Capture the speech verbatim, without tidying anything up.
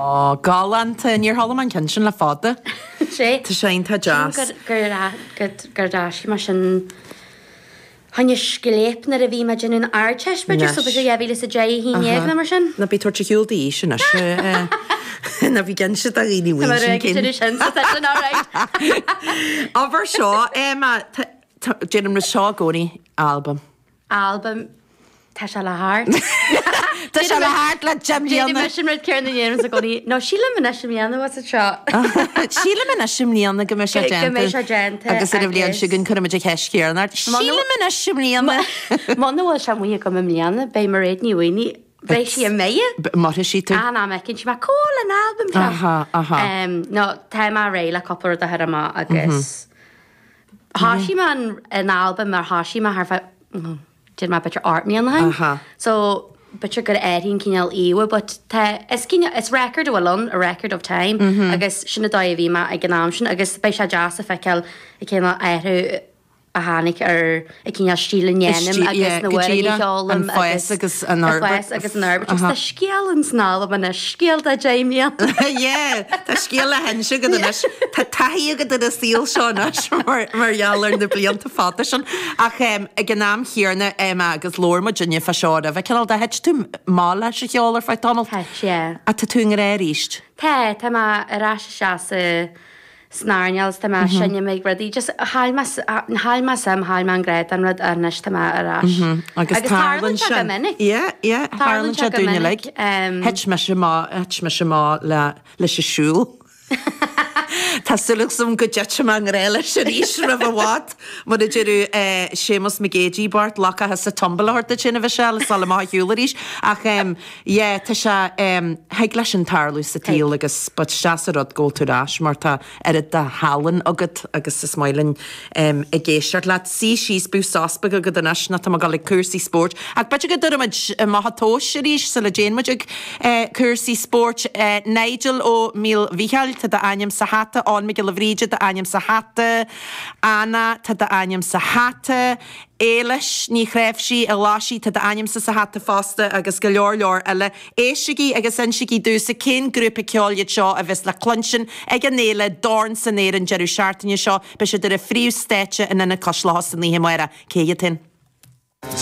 Ó, galánta, níor chuala mé an ceann sin le fada. Sé. Tá sé iontach deas. Gur gur d'eisigh mé sin choinne scléip nuair a bhí mé ag déanamh an Ardteist b'fhéidir, so b'fhéidir dhá mhíle is a deich, a haon déag nó mar sin. Ná bí ag tabhairt ar shiúl d'aois anois. Ná bí ag inse do dhaoine Tá mé sin réidh cén. sin sin, so tá sin alright. Ábhar seo, Emma, déanaim rud seo i gcónaí, albam. Albam, tá sé le theacht. Tá sé le theacht le deich Déanaim mbliana. sin rud céanna a dhéanaim i gcónaí. No, sílim anois i mbliana was it seo. Sílim anois i mbliana go mbeidh sé Go- go déanta. mbeidh sé déanta Agus ar an bhliain agus- seo chugainn cuirfimid an cheist chéanna ort. Sílim anois i mbliana. Muna bhfuil sé amuigh agam i mbliana, beidh Mairéad Ní Mhaonaigh, beidh sí imithe. Mairfidh sí tú. An am fheiceann sí mé cá bhfuil an albam seo. Aha, aha. Um, no, tá mé réidh le cúpla rud a chur amach agus thosaigh mé an, an albam mar thosaigh mé thar feadh mm, déarfaidh mé b'fhéidir ocht mbliana ó shin. Aha. So b'fhéidir gur éirigh an cineál íomha, but tá is cineál is record a bhfuil ann, a record of time, agus sin an dóigh a bhí mé ag an am sin agus beidh sé deas a feiceáil an cineál athrú a tháinig ar an cineál stíl a ndéanaim agus na hamhráin a cheolaim an fás agus an an fás agus an fhorbairt. Agus tá scéal ins an albam anois, scéal de deich mbliana. Yeah, tá scéal le hinse agat anois. Tá taithí agat ar an saol seo anois mar mar gheall ar na blianta fada sin. Ach um, ag an am chéanna Emma agus labhair muid inniu fá seo roimhe cineál de thit tú amach leis an cheol ar feadh tamaill. Thit, yeah. A tá tú i ngrá arís. Tá, tá mé ar ais isteach sa san earnáil tá mé seinm ag rudaí just chaill mé chaill mé suim chaill mé an grá don rud anois tá mé ar ais. Agus tarlaíonn sé go minic. Yeah, yeah, Tarlaíonn tarlaíonn sé sé go dúinn minic, uilig. um, Thit mise amach thit mise amach le leis an siúl. Tá súil agam go dtitfidh mé i ngrá leis arís roimh i bhfad. Mar a deireadh Séamus Mac Géidigh Bart lachacha sa tumble a thabhairt duit sin a bheith sé le sáil amach a shiúl arís. Ach um, yeah, tá sé um, thig leis sin tarlú sa tsaol agus but deas an rud go bhfuil tú ar ais mar tá oiread de thallann agat agus is maith linn um, ag éisteacht leat. Suigh síos bíodh sos beag agat anois ná tá mé ag dul ag cúrsaí spóirt. Ach b'fhéidir go dtabharfaimid amach an tomhas arís sula dtéann muid ag eh, cúrsaí spóirt. Eh, Nigel ó Míl Mhichíl, tá d'ainm sa hata, Eoin Mac Giolla Bhríde d'ainm sa hata, Anna tá d'ainm sa hata, Éilis ní chreibhsí a láisí tá d'ainmsa sa hata fosta agus go leor leor eile. Éistigí agus insígí domhsa cén grúpa ceoil iad seo a bheas le cluinstin ag an fhéile Dorn san Aer an deireadh seachtaine seo, beidh siad ar an phríomhstáitse in Ionad Cois Locha san oíche amárach. Cé hiad féin?